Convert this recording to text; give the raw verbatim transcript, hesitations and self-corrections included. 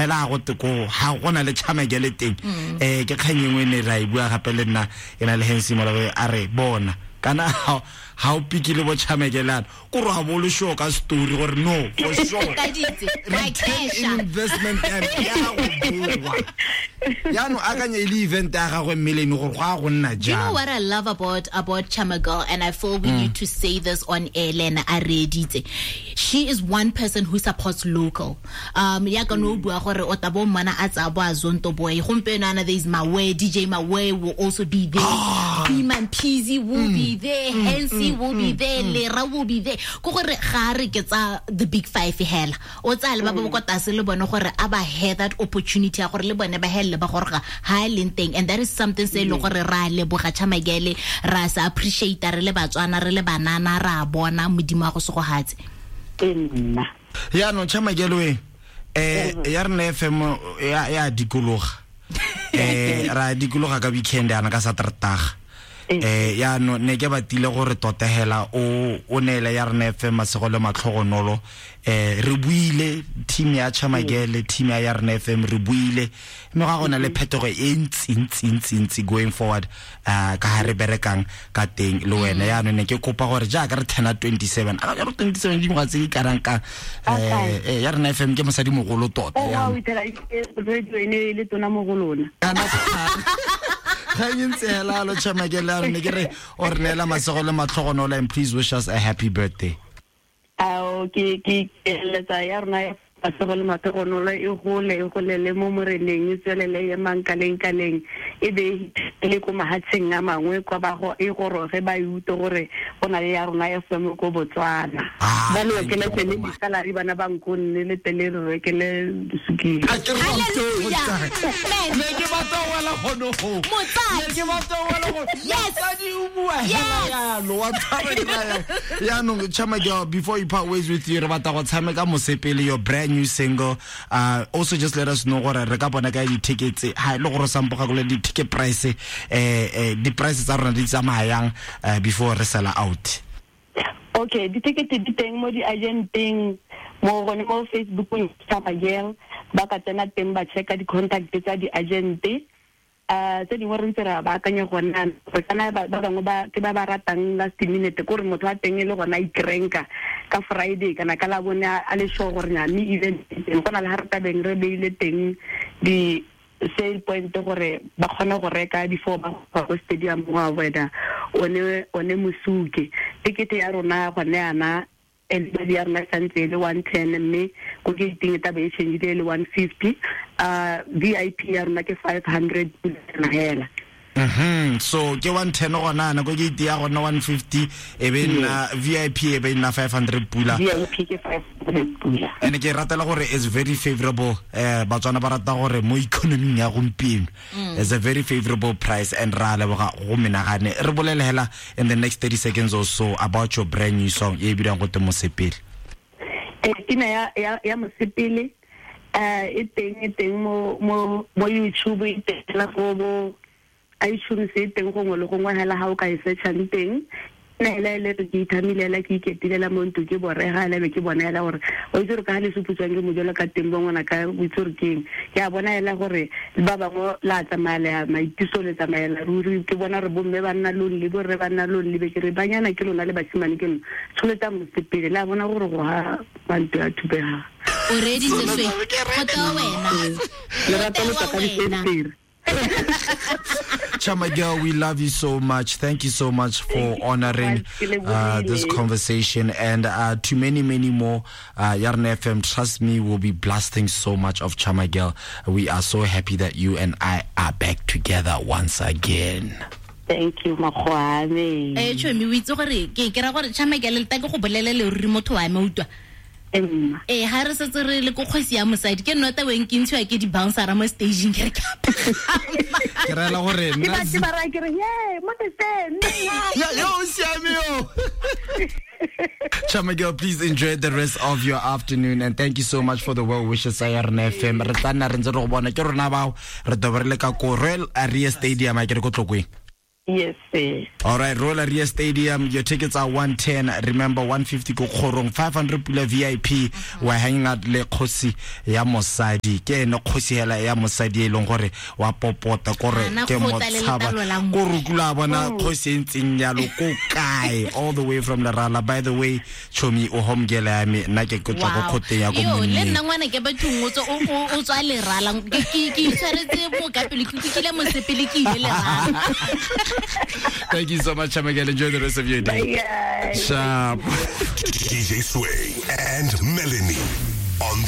hela go te ko ha go na le Chamagele teng eh ke kgang engwe ne ra e bua gape le nna e na le Hensi Molawe a re bona kana ha o pikile bo Chamagele ko ro ha bo le sure ka story gore no for sure return investment ya go bua ya no akanya e le event ya gagwe mmele ne gore go a go nna jang. You know what I love about about Chamagele, and I feel we mm. need to say this on air, Lena a reditse. She is one person who supports local. Um ya ka no bua gore o tabo mmana a tsa bo a zonto boy gompieno ana there is Mawe, D J Mawe will also be there. Ah. Freeman Peasy will mm. be there, mm. Hensi mm. will mm. be there, mm. Lera will be there. Ko gore ga re ke tsa the big five hela. O tsa le ba ba kwa tlase le bone gore a ba have that opportunity ya gore le bone ba helle ba gore ha leng teng, and that is something se le gore ra leboga Chamagele, ra sa appreciate re le Batswana re le banana ra bona modimo a go segohatse. Nna ya no Chamagele we eh ya rena F M ya ya dikologa eh ra dikologa ka weekend yana ka Saterdag eh ya no ne ke batile gore tota hela o o neele ya rena F M masego le matlhogonolo eh re buile team ya Chamagele team ya ya rena F M re buile mme ga gona le phetogo e ntsi ntsi ntsi ntsi going forward uh ka ha re berekang ka teng le wena ya no ne ke kopa gore jaaka re turna twenty-seven a re twenty-seven di ngwa tse di karang ka eh ya rena F M ke mosadi mogolo tota ya o itela radio ene le tona mogolona ga ntse hela lo Chamagele ne ke re o re neela masego le matlhogonolo and please wish us a happy birthday. Ao ke ke eletsa ya rona masego le matlhogonolo e gole e golele mo moreneng e tswelele ye mankaleng kaleng e be le ko mahatsheng a mangwe kwa ba go e goroge ba ute gore go na le ya rona ya F M ko Botswana ba le ke le tsene disalary bana ba nkonne le tele re ke le sukile ne ke batla wela gono go ne ke batla wela go motsadi o bua hela yalo wa tshaba ya no Chamagele, before you part ways with you re batla go tshameka mosepele your brand new single. Uh also just let us know gore re ka bona ka di tickets ha le gore sampo ga go le di ticket price eh eh di prices tsa rona di tsamayang before re sell out. Okay, di ticket di teng mo di agenteng mo gone mo Facebook Chamagele ba ka tsena teng ba checka di contact tsa di agente uh tse dingwe re ntse ra ba akanya gona re kana ba bangwe ba ke ba ba ratang last minute gore motho wa teng e le gona ikrenka ka Friday kana ka la bone a le sure gore nya mme event teng go na le ha re tabeng re beile teng di sale point gore ba kgone go reka before ba go stadium go avoida one one mosuke ticket ya rona gone yana and ya rona santse le one ten mme ko ke teng ta be change le one fifty uh V I P ya rona ke five hundred hela. Mhm so ke one ten gona na ko ke ya gona one fifty e be nna V I P e be nna five hundred pula V I P ke five hundred pula and ke ratela gore is very favorable eh Batswana ba rata gore mo economy ya gompieno is a very favorable price and ra leboga go menagane re bolele hela in the next thirty seconds or so about your brand new song e bidang go te Mosepele. Eh pina ya ya ya Mosepele eh e teng e teng mo mo mo YouTube e teng la go bo iTunes e teng gongwe le gongwe hela ha o ka e searchang teng nna ela le re ke ithamile ela ke iketilela mo ntlo ke borega ela be ke bona ela gore o itse gore ka ha le suputswang ke mojolo ka teng bo ngwana ka o itse gore keng ke a bona ela gore ba bangwe la tsamaela maitiso le tsamaela ruri ke bona re bomme ba nna lonely borre ba nna lonely be ke re banyana ke lona le basimane ke lona tsholetsa mosepele la bona gore go ha bantu ya thubega o reditse swe go tla wena le rata le ka difenstere. Chamagele, we love you so much. Thank you so much for honoring uh, this conversation and uh, to many, many more. Uh, Yarn F M, trust me, will be blasting so much of Chamagele. We are so happy that you and I are back together once again. Thank you, Makgoane. Eh, chomi o itse gore ke ke ra gore Chamagele le ta ke go bolelele ruri motho wa me utlwa. Eh ha re setse re le ko kgosi ya mosadi ke nota weng ke ntshiwa ke di bouncer mo staging ke re ka ke rela gore nna ke ba ra ke re ye mo te sen ya yo siame yo. Chamagele, please enjoy the rest of your afternoon and thank you so much for the well wishes. Yarn F M re tla nna re ntse re go bona ke rona bao re dobere le ka ko Royal Area Stadium a ke re ko Tlokweng. Yes, sir. All right, Royal Ria Stadium, your tickets are one ten. Remember, one fifty ko kgorong, five hundred pula V I P. Mm-hmm. We're hanging out le kgosi ya mosadi. Ke ene kgosi hela ya mosadi e leng gore wa popota kore ke motshaba. Ko rukula bona kgosi e ntseng yalo ko kae, all the way from Lerala. By the way, Chomi o home girl ya me, nna ke tswa ko khoteng ya ko monneng. Yo, le nna ngwana ke bathong o tswa o tswa Lerala. Ke ke itshwaretse mo ka pele ke kile mosepele ke ile Lerala. Thank you so much, Chamagel. Enjoy the rest of your day. Bye, guys. Sharp. D J Sway and Melanie on the